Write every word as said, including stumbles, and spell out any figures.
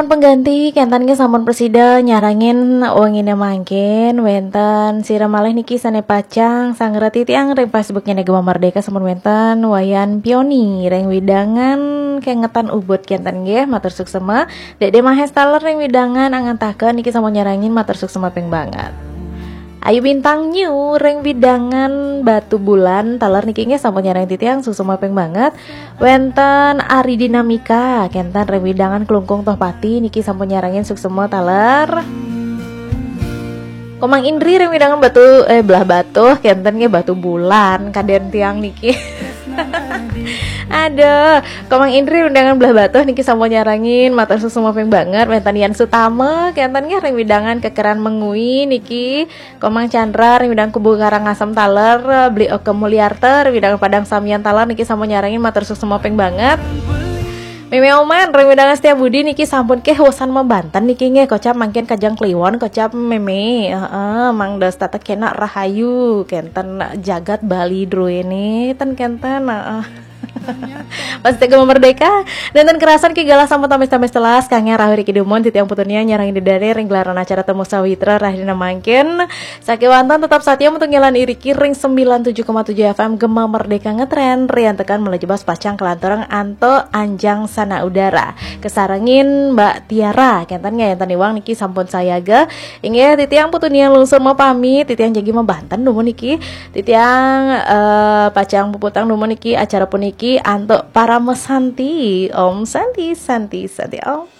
Pengganti, kénten nggih sampun presida nyarengin wengine mangkin. Wénten sira malih niki sané pacang sangreti tiang ring Facebooknya Gema Merdeka, sampun wénten Wayan Pioni ring wewidangan Kengetan Ubud, kénten nggih, matur suksema. Dédé Mahes taler ring wewidangan Angantaken niki sampun nyarengin, matur suksema ping banget. Ayu Bintang New ring wewidangan Batubulan taler niki nggih sampun nyarengin titiang, suksema ping banget. Wénten Ari Dinamika, kénten ring wewidangan Klungkung Tohpati niki sampun nyarengin, suksema taler. Komang Indri ring wewidangan Batu, eh, Blahbatuh, kénten nggih, Batubulan kadén tiang niki. Aduh, Komang Indri wewidangan Blahbatuh niki sampun nyarengin, matur suksema ping banget. Wénten Yan Sutama, kénten nggih, ring wewidangan Kekeran Mengwi niki. Komang Chandra ring wewidangan Kubu Karangasem taler, Beli Oke Mulyarta ring wewidangan Padang Samian taler niki sampun nyarengin, matur suksema ping banget. Mémé Oman ring wewidangan Setia Budi niki sampun kéh wosan mabanten niki nggih, kocap mangkin Kajeng Kliwon, kocap Mémé. Heeh, Mang Dosta teh kena rahayu, kénten jagat Bali druéné ten kénten, heeh. Pas Gema Merdeka, nénten kerasan ki galah sampun tamis-tamis telas, kanggé rauh riki dumun, titiang Putu Nia nyarengin dedari ring gelaran acara Temu Sawitra rahina mangkin. Sakéwanten tetap satia mutung ngilan iriki ring sembilan tujuh koma tujuh F M Gema Merdeka ngetren, riantukan malih jebos pacang kalanturang antuk anjang sana udara. Kasarengin Mbak Tiara, kénten nggih, énten iwang niki sampun sayaga. Inggih, titiang Putu Nia lungsur mapamit, titiang jagi mabanten dumun niki. Titiang, eh, pacang puputang dumun niki acara puniki antuk Parama Santi. Om Santi, Santi, Santi Om.